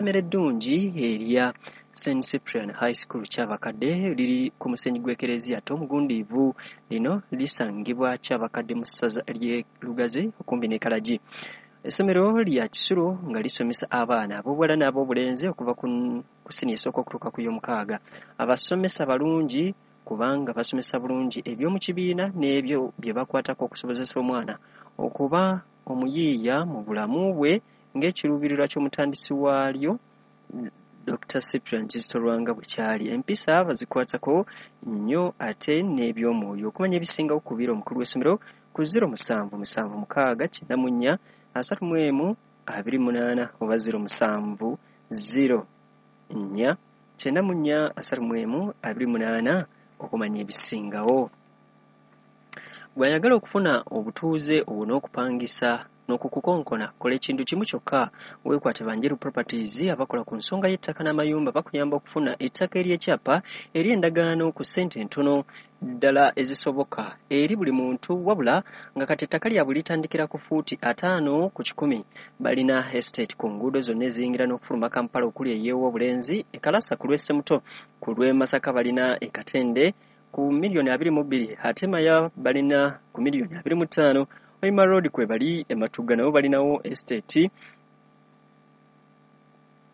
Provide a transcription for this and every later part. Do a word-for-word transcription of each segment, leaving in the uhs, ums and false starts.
Essomero eddungi erya Saint Cyprian High School Kyabakadde liri ku musenyi gw'Ekereziya ate omugundiivu. Lino lisangibwa Kyabakadde mu ssaza ly'e Lugazi okumpi ne Kalagi. Essomero lya kisulo nga lisomesa abaana ab'obuwala n'ab'obulenzi okuva ku ku siniya esooka okutuuka ku y'omukaaga. Abasomesa balungi kubanga basomesa bulungi eby'omu kibiina n'ebyo bye bakwatako okusobozesa omwana okuba omuyiiya mu bulamu bwe ng'ekiruubirirwa ky'omutandisi waalyo Doctor Cyprian Kizito Lwanga bwe kyali. Empisa bazikwatako nnyo ate n'eby'omwoyo. Okumanya ebisingawo kubira omukulu w'essomero ku zero musanvu musanvu mukaaga kyenda mu nnya asatu mu emu abiri munaana oba zero musanvu zero nnya kyenda mu nnya asatu mu emu abiri munaana okumanya ebisingawo. Bw'ayagala okufuna obutuuze obwo n'okupangisa n'okukukonkona, kola ekintu kimu kyokka, weekwate Banjeru Properties abakola ku nsonga y'ettaka n'amayumba. Bakuyamba okufuna ettaka ery'ekyapa ery'endagaano ku ssente entono ddala ezisoboka eri buli muntu, wabula nga kati ettaka lyabwe litandikira ku fuuti ataano ku kikumi. Balina estate ku nguudo zonna eziyingira n'okufuluma Kampala okuli ey'Owobulenzi, e Kalasa ku lw'e Ssemuto, ku lw'e Masaka balina e Katende ku miliyoni abiri mu bbiri, ate Maya balina ku miliyoni abiri mu ttaano. Hoima Road kwe bali, e Matugga nabo balinawo estate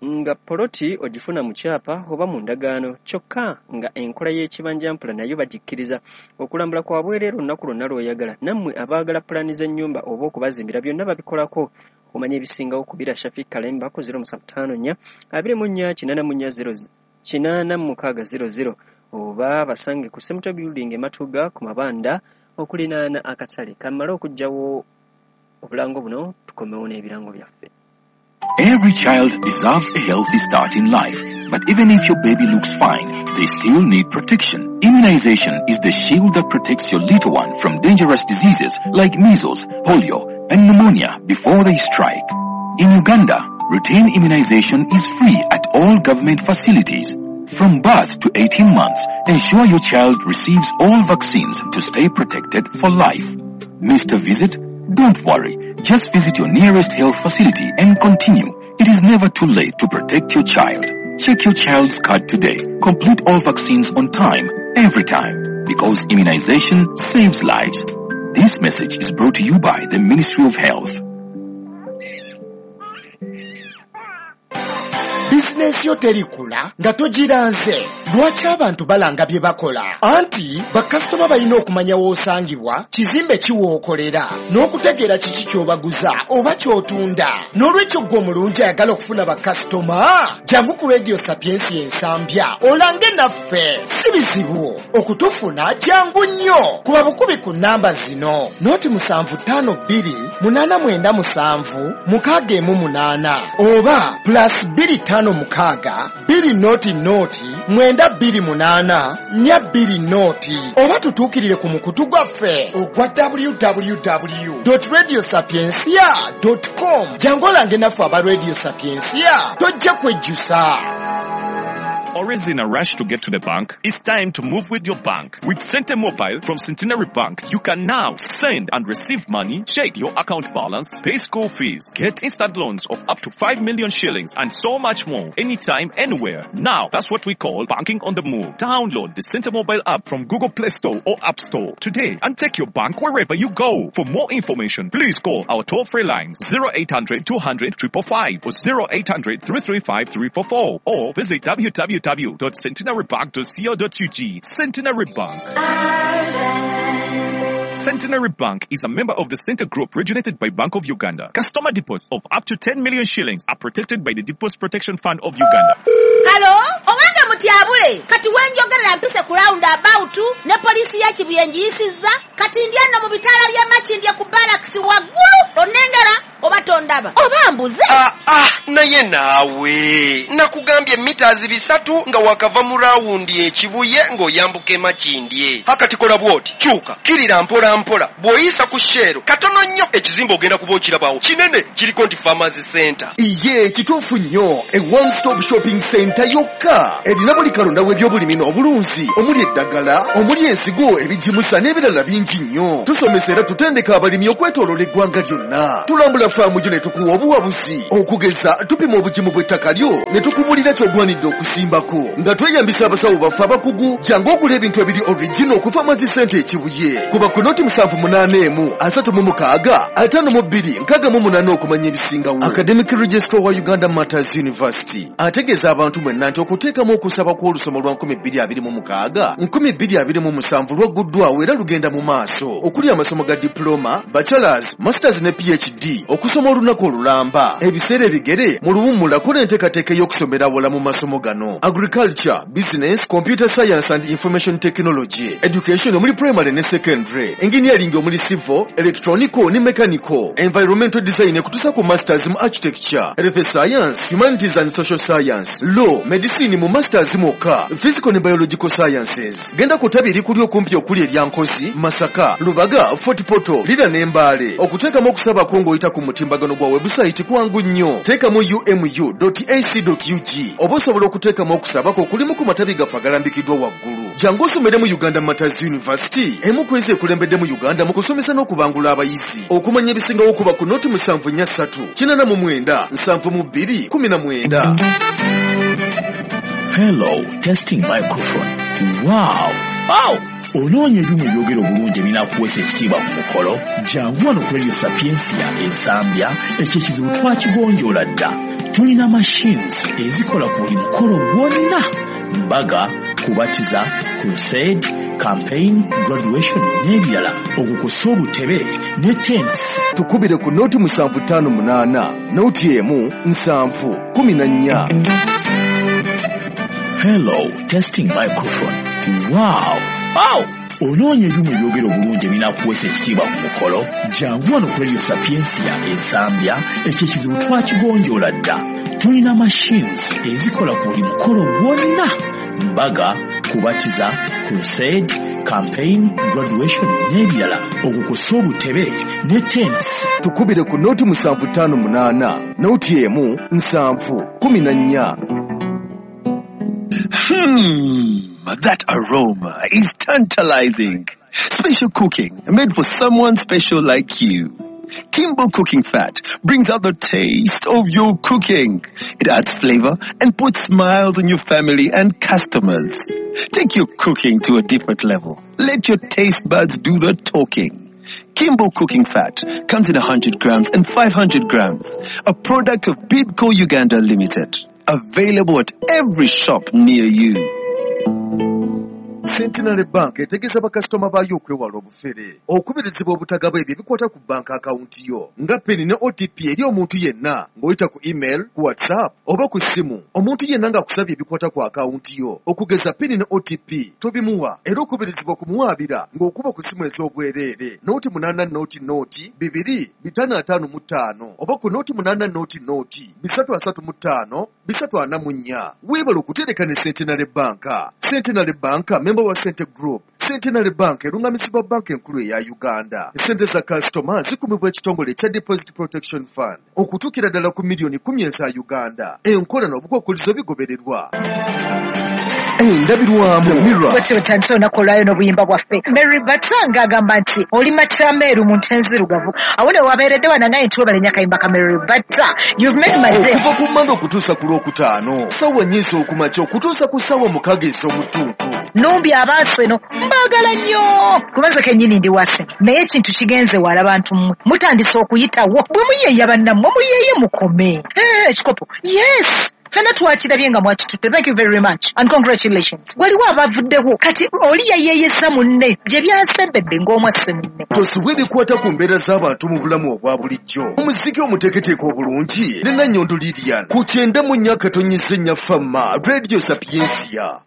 nga poloti ogifuna mu kyapa oba mu ndagaano, kyokka nga enkola y'ekibanjampula nayo bagikkiriza. Okulambula kwa bwereere olunaku lwonna lw'oyagala. Nammwe abaagala pulaani z'ennyumba oba okubazimbira, byonna babikolako. Okumanya ebisingawo kubira Shafik Kalemba ku zero musanvu ttaano nnya abiri mu nnya kinaana mu nnya zero kinaana mu mukaaga zero zero oba basange ku Semuto Building e Matugga ku mabanda okulinaana akatale. Kamale okuggyawo obulango buno tukomewo n'ebirango byaffe. Every child deserves a healthy start in life. But even if your baby looks fine, they still need protection. Immunization is the shield that protects your little one from dangerous diseases like measles, polio, and pneumonia before they strike. In Uganda, routine immunization is free at all government facilities. From birth to eighteen months, ensure your child receives all vaccines to stay protected for life. Missed a visit? Don't worry. Just visit your nearest health facility and continue. It is never too late to protect your child. Check your child's card today. Complete all vaccines on time, every time. Because immunization saves lives. This message is brought to you by the Ministry of Health. Bizinensi yo terikula nga togiranze. Lwaki abantu balanga bye bakola? Anti bakasitoma balina okumanya w'osangibwa, kizimbe ki w'okolera, n'okutegeera kiki ky'obaguza oba ky'otunda. N'olwekyo ggwe omulungi ayagala okufuna bakasitoma, jangu ku Radio Sapiensia Ensambya olange naffe. Si bizibu okutufuna, jangu nnyo. Kuba bukubi ku nnamba zino: noti musanvu ttaano bbiri munaana mwenda musanvu mukaaga emu munaana oba plus bbiri ttaano mukaaga bbiri noti noti mwenda bbiri munaana nnya bbiri noti oba tutuukirire ku mukutu gwaffe ogwa w w w radio sapiensia com. Jangu olange naffe aba Radio Sapiensia, tojja kwejjusa. Always in a rush to get to the bank? It's time to move with your bank. With Sente Mobile from Centenary Bank, you can now send and receive money, check your account balance, pay school fees, get instant loans of up to five million shillings, and so much more. Anytime, anywhere. Now, that's what we call banking on the move. Download the Sente Mobile app from Google Play Store or App Store today and take your bank wherever you go. For more information, please call our toll-free lines zero eight hundred two hundred five five five or zero eight hundred three three five three four four or visit w w w dot centenarybank dot co dot U G. Centenary Bank. Centenary Bank is a member of the Sente Group regulated by Bank of Uganda. Customer deposits of up to ten million shillings are protected by the Deposit Protection Fund of Uganda. Halo, owange mutyabule, kati wenjogerera mpise ku round about ne poliisi ya Kibuye ngiyisizza, kati ndi eno mu bitaala by'e Makindye ku barracks waggulu. Onnengera oba tondaba oba mbuze? Ah, ah, naye naawe nakugambye mitazi bisatu nga wakava mu rawundi ekibuye ng'oyambuka e Makindye. Hakati kola bw'oti, kyuka kirira mpola mpola, bw'oyisa ku Shell katono nnyo, ekizimbe ogenda kuba okirabawo kinene, kiriko nti Farmers Center. Iye, kituufu nnyo. E one stop shopping center yokka erina buli kalonda w'ebyobulimi n'obulunzi, omuli eddagala, omuli ensigo, ebigimusa n'ebirala bingi nnyo. Tusomesa era tutendeka abalimi okwetooloola eggwanga lyonna. Tulambula Tulambula faamu gyo ne tukuwa obuwabuzi. Okugeza tupima obugimu bw'ettaka lyo ne tukubuulira ky'ogwanidde okusimbako. Nga tweyambisa abasawo baffe abakugu, jangu ogula ebintu ebiri original okuva Mazi Center e Kibuye. Kuba ku noti musanvu munaana emu asatu mu mukaaga ataano mu bbiri nkaaga mu munaana okumanya ebisingawo. Academic Registrar wa Uganda Martyrs University ategeeza abantu mwenna nti okuteekamu okusaba kw'olusoma lwa nkumi bbiri abiri mu mukaaga nkumi bbiri abiri mu musanvu lwagguddwawo era lugenda mu maaso okuli amasomo ga diploma, bachelors, masters ne P H D okusoma olunaku olulamba ebiseera ebigere mu luwummula. Kola enteekateeka ey'okusomera wala mu masomo gano: agriculture, business, computer science and information technology, education omuli primary ne secondary, engineering omuli civil, electronical ne mechanical, environmental design ekutuusa ku masters mu architecture, health science, humanities and social science, law, medicine mu masters mwokka, physical ne biological sciences. Genda ku ttabi erikuli okumpi okuli erya Nkozi, Masaka, Lubaga, Fort Portal, Lira ne Mbale. Okuteekamu okusabako ng'oyita ku mutimbagano gwa webusayiti kwangu nnyo. Teekamu umu dot ac dot ug oba osobola okuteekamu okusabako kulimu ku matabi gaffe agalambikiddwa waggulu. Jangu osomere mu Uganda Martyrs University, emu ku ezo ekulembedde mu Uganda mu kusomesa n'okubangula abayizi. Okumanya ebisingawo kuba ku noti musanvu nnya ssatu kinaana mu mwenda nsanvu mu bbiri kumi na mwenda. Hello, testing microphone. Wow! Wow! Onoonya ebyuma ebyogera obulungi ebinaakuweesa ekitiibwa ku mukolo? Jangu wano ku Radio Sapiensia Ensambya, ekyo ekizibu twakigonjoola dda. Tulina machines ezikola ku buli mukolo gwonna: mbaga, kubatiza, crusade, campaign, graduation n'ebirala, okukosa obutebe ne tents. Tukubire ku noti musanvu ttaano munaana noti emu nsanvu kumi na nnya. Hello, testing microphone. Wow! Wow! Onoonya ebyuma ebyogera obulungi ebinaakuweesa ekitiibwa ku mukolo? Jangu wano ku Radio Sapiensia Ensambya, ekyo ekizibu twakigonjoola dda. Tulina machines ezikola ku buli mukolo gwonna: mbaga, kubatiza, crusade, campaign, graduation n'ebirala, okukosa obutebe ne tents. Tukubire ku noti musanvu ttaano munaana noti emu nsanvu kumi na nnya. Hmm, that aroma is tantalizing. Special cooking made for someone special like you. Kimbo cooking fat brings out the taste of your cooking. It adds flavor and puts smiles on your family and customers. Take your cooking to a different level. Let your taste buds do the talking. Kimbo cooking fat comes in one hundred grams and five hundred grams. A product of Bidco Uganda Limited. Available at every shop near you. Centenary Bank etegeeza bakasitoma baayo okwewala obufere. Okubirizibwa obutagaba ebyo ebikwata ku banka akawunti yo nga PIN ne O T P eri omuntu yenna ng'oyita ku email, ku WhatsApp oba ku ssimu. Omuntu yenna ng'akusabye ebikwata ku akawunti yo okugeza PIN ne O T P tobimuwa, era okubirizibwa okumuwaabira ng'okuba ku ssimu ez'obwereere nooti munaana nooti nooti bibiri bitaano ataano mu ttaano oba ku nooti munaana nooti nooti bisatu asatu mu ttaano bisatu ana mu nnya. Weebale okutereka ne Centenary Bank. Centenary Bank member wa Sente Group. Centenary Bank erungamisibwa banka enkulu eya Uganda. Sente za kasitoma zikumibwa ekitongole ekya Deposit Protection Fund okutuukira ddala ku miliyoni kumi eza Uganda. Enkola n'obukwakkulizo bigobererwa. Endabirwamu, Mirror. Bwetyo otandise olunaku olwayo n'obuyimba bwaffe. Mary Batanga agamba nti oli matameeru mu nte enzirugavu. Awo ne wabeeredde wanangaye nti webale nnyo akayimba ka Mary Bata. You've made my day. Okuva ku Mmande okutuusa ku Lwokutaano, ssaawa nnya ez'okumakya okutuusa ku ssaawa mukaaga ez'omutuntu. Numbi abaaseno mbaagala nnyo kubanze kennyini ndi wase, naye ekintu kigenze wala. Bantu mmwe mutandise okuyitawo bwe muyeeya, bannammwe muyeeye mukome. Eh, ekikopo yes, fenna twakirabye nga mwakitutte. Thank you very much and congratulations. Waliwo abavuddewo kati oli yayeeyesa munne gye byasembedde ng'omwasse munne. Tosubwa ebikwata ku mbeera z'abantu mu bulamu obwa bulijjo. Omuziki omuteeketeeke obulungi ne Nannyondo Lilian ku kyenda mu nnya akatonyeza ennya Fama Radio Sapiensia.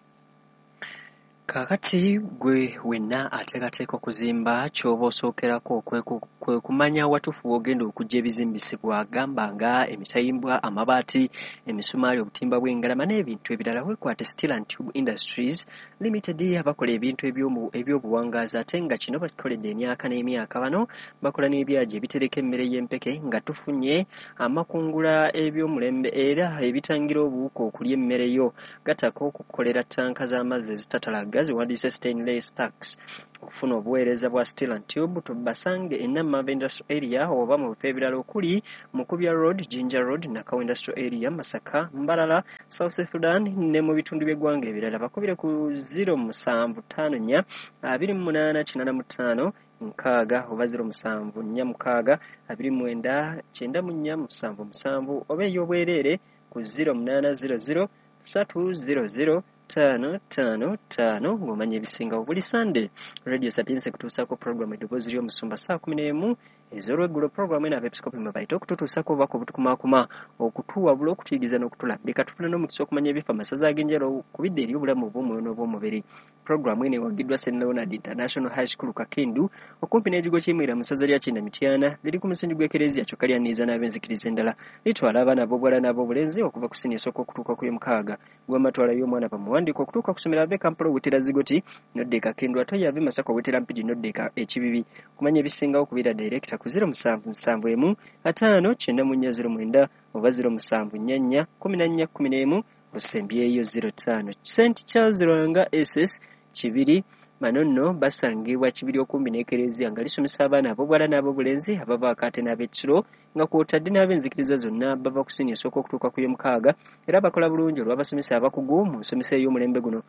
Kaakati gwe wenna ateekateeka okuzimba, ky'oba osookerako kwe ku- kwe kumanya watuufu w'ogenda okuggya ebizimbisibwa, gamba nga emitayimbwa, amabaati, emisumaali, obutimba bw'engalama n'ebintu ebirala. Weekwate Steel and Tube Industries Limited abakola ebintu ebyomu- ebyobuwangaazi ate nga kino bakikoledde emyaka n'emyaka. Bano bakola n'ebyagi ebitereka emmere y'empeke nga tufunye amakungula eby'omulembe era ebitangira obuwuka okulya emmere yo, gattako okukolera ttanka z'amazzi ezitatalaga. nga ziwandiise stainless tax. Okufuna obuweereza bwa Steel and Tube tubasange e Namanve Industrial Area oba mu bifo ebirala okuli Mukubya Road, Jinja Road, Nakawa Industrial Area, Masaka, Mbarara, South Sudan ne mu bitundu by'eggwanga ebirala. Bakubire ku zero musanvu ttaano nnya abiri mu munaana kinaana mu ttaano nkaaga oba zero musanvu nnya mukaaga abiri mwenda kyenda mu nnya musanvu musanvu oba ey'obwereere ku zero munaana zero zero ssatu zero zero ttaano ttaano ttaano ng'omanya ebisingawo. Buli Sande Radio Sapientia ekutuusaako puroguramu Eddoboozi ly'Omusumba ssaawa kumi n'emu ez'olweggulo. Puroguramu eno abeepiskopi mwe bayita okututuusaako obubaka obutukumaakuma, okutuwabula, okutuyigiriza n'okutulambika. Tufuna n'omukisa okumanya ebifa amasaza ag'enjawulo ku bidda eri obulamu obw'omwoyo n'obw'omubiri. Puroguramu eno ewagiddwa Saint Leonard International High School Kakindu okumpi n'ekigo ky'Emwira mu ssaza lya Kyenda Mityana. Liri ku musingi gw'Ekereziya kyokka lyaniriza n'ab'enzikiriza endala. Litwala abaana ab'obuwala n'ab'obulenzi okuva ku siniya esooka okutuuka ku y'omukaaga. Gwamatwala y'omwana bamuwandiika okutuuka ku ssomero ave Kampala owetera Zigoti n'odda e Kakindu, ate oyo ave Masaka owetera Mpigi n'odda e Kibibi. Okumanya ebisingawo kubira dayirekita ku zero musanvu musanvu emu ataano kyenda mu nnya zero mwenda oba zero musanvu nnya nnya kkumi na nnya kkumi n'emu osembyeyo zero ttaano. Saint Charles Lwanga S S Kibiri bano nno basangibwa Kibiri okumbi n'Ekereziya nga lisomesa abaana ab'obuwala n'ab'obulenzi abavaako ate n'ab'ekiro nga kw'otadde n'ab'enzikiriza zonna bava ku siniya esooka okutuuka ku y'omukaaga era bakola bulungi olw'abasomesa abakugu mu nsomesa ey'omulembe guno.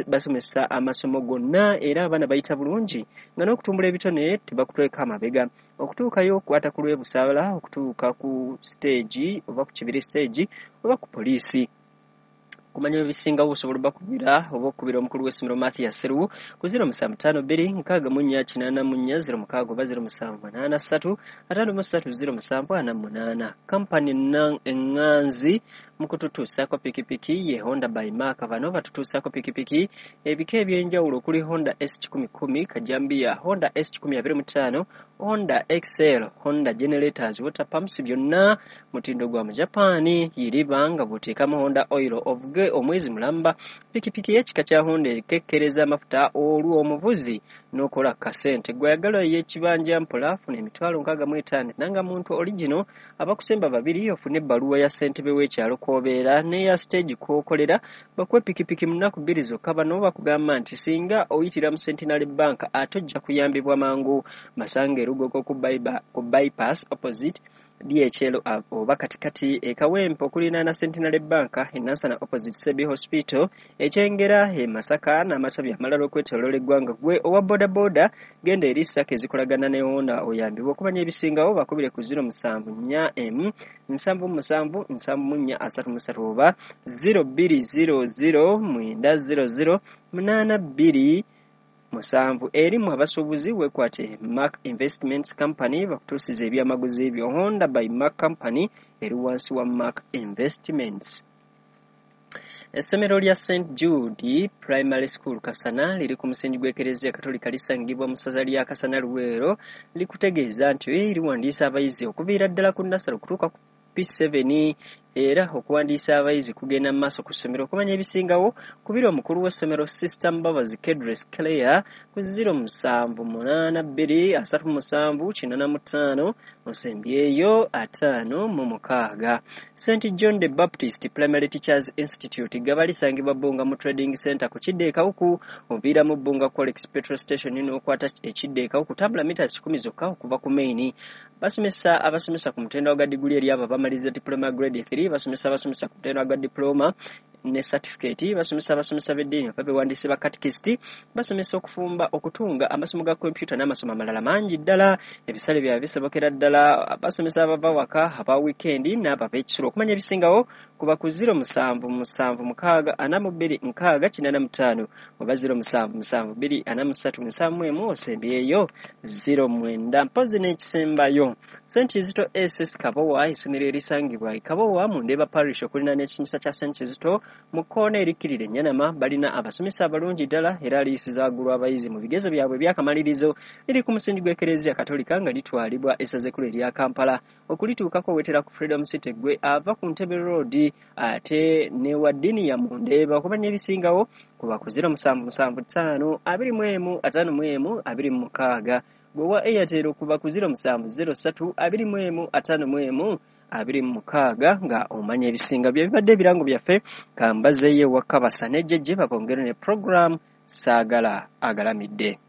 Basomesa amasomo gonna era abaana bayita bulungi nga n'okutumbula ebitone tebakutweka amabega. Okutuukayo okukwata ku lw'e Busaabala, okutuuka ku siteegi oba ku Kibiri siteegi oba ku poliisi. Kumanya ebisingawo osobola obakubira oba okukubira omukulu w'essomero Mathias Sseruwu ku zero musanvu ttaano bbiri nkaaga mu nnya kinaana mu nnya zero mukaaga oba zero musanvu munaana ssatu ataano mu ssatu zero musanvu ana munaana. Kampani eŋŋanzi mu kututuusaako pikipiki ye Honda by Mark. Bano batutuusaako pikipiki ebika eby'enjawulo okuli Honda S kikumi kkumi Kajambiya, Honda S kikumi abiri mu ttaano, Honda X L, Honda generators, water pumps byonna mutindo gwa mu Japan. Yiriba nga bw'oteekamu Honda oil ovuge omwezi mulamba. Pikipiki y'ekika kya Honda ekekkereza amafuta olwo omuvuzi n'okola kasente. Gw'oyagala ey'ekibanja mpola funa emitwalo nkaaga mu etaano nanga muntu original abakusemba babiri ofune ebbaluwa ya ssentebe w'ekyalo kw'obeera n'eya stage kw'okolera bakuwe pikipiki mu nnaku bbiri zokka. Bano bakugamba nti singa oyitira mu Centenary Bank ate ojja kuyambibwa mangu. Masanga Erugogo ku bypass opposite D H L oba katikati e Kawempe okuliraana Centenary Bank, e Nansana opposite Sebi Hospital, Ekyengera e Masaka n'amatabi amalala okwetooloola eggwanga. Gwe owa bodaboda genda eri SACCO ezikolagana ne Honda oyambibwe. Okumanya ebisingawo bakubire ku zero musanvu nnya emu nsanvu musanvu nsanvu mu nnya asatu mu ssatu oba zero bbiri zero zero mwenda zero zero munaana bbiri musanvu. Erimu abasuubuzi weekwate Mark Investments Company bakutuusiza ebyamaguzi byo. Honda by Mark Company eri wansi wa Mark Investments. Essomero lya Saint Jude Primary School Kasana liri ku musingi gw'Ekereziya Katolika lisangibwa mu ssaza lya Kasana Luweero. Likutegeeza nti liwandiisa abayizi okuviira ddala ku nnasale okutuuka ku P seven era okuwandiisa abayizi kugenda mu maaso ku ssomero. Okumanya ebisingawo kubira omukulu w'essomero Sister Mbabazi Kedres Claire ku zero musanvu munaana bbiri asatu musanvu kinaana mu ttaano osembyeyo ataano mu mukaaga. Saint John the Baptist Primary Teachers Institute gaba lisangibwa Bbunga mu Trading Center ku kidda e Kawuku oviira mu Bbunga Colex Petrol Station n'okwata ekidda e Kawuku tambula mita kikumi zokka okuva ku main. Basomesa abasomesa ku mutendera gwa diguli eri abo abamaliriza diploma grade three, basomesa abasomesa ku mutendera gwa diploma ne certificate, basomesa abasomesa b'eddiini oba bewandiise ba catechist, basomesa okufumba, okutunga, amasomo ga kompyuta n'amasomo amalala mangi ddala. Ebisale byabwe bisobokera ddala. Basomesa abava waka, aba weekend n'abo ab'ekisulo. Okumanya ebisingawo kuba ku zero musanvu musanvu mukaaga ana mu bbiri nkaaga kinaana mu ttaano oba zero musanvu musanvu bbiri ana mu ssatu nsanvu mu emu osembyeyo zero mwenda. Mpozzi n'ekisembayo Saint Kizito S S Kabowa, essomero erisangibwa e Kabowa mu Ndeeba Parish okuliraana ekisomesa kya Saint Kizito mu kkoona erikkirira Ennyanama. Balina abasomesa abalungi ddala era aliyisiza waggulu abayizi mu bigezo byabwe eby'akamalirizo. Liri ku musingi gw'Ekereziya Katolika nga litwalibwa essaza ekkulu erya Kampala. Okulituukako wetera ku Freedom City gwe ava ku Ntebe Road ate ne wa ddiini ya mu Ndeeba. Okumanya ebisingawo kuba ku zero musanvu musanvu ttaano abiri mu emu ataano mu emu abiri mu mukaaga. Gwe wa Airtel okuva ku zero musanvu zero ssatu abiri mu emu ataano mu emu abiri mu mukaaga nga omanya ebisinga. Bye bibadde ebirango byaffe. Kambazeeyo ewaka basane jjejje babongere ne program Saagala agalamidde.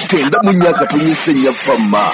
Kyenda mu nnya akatonyesa ennya fama.